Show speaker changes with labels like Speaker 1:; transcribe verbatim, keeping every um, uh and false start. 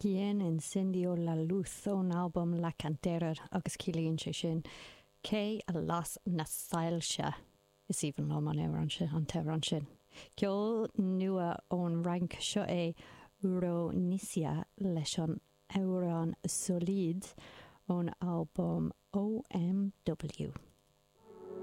Speaker 1: Quien encendió la luz ón albam La Cantera agus ciallaíonn sé sin cé a las na soilse is aoibhinn liom an amhrán sin an t-amhrán sin. Ceol nua ón Fhrainc seo é Ronisia leis an amhrán Solide ón albam OMW.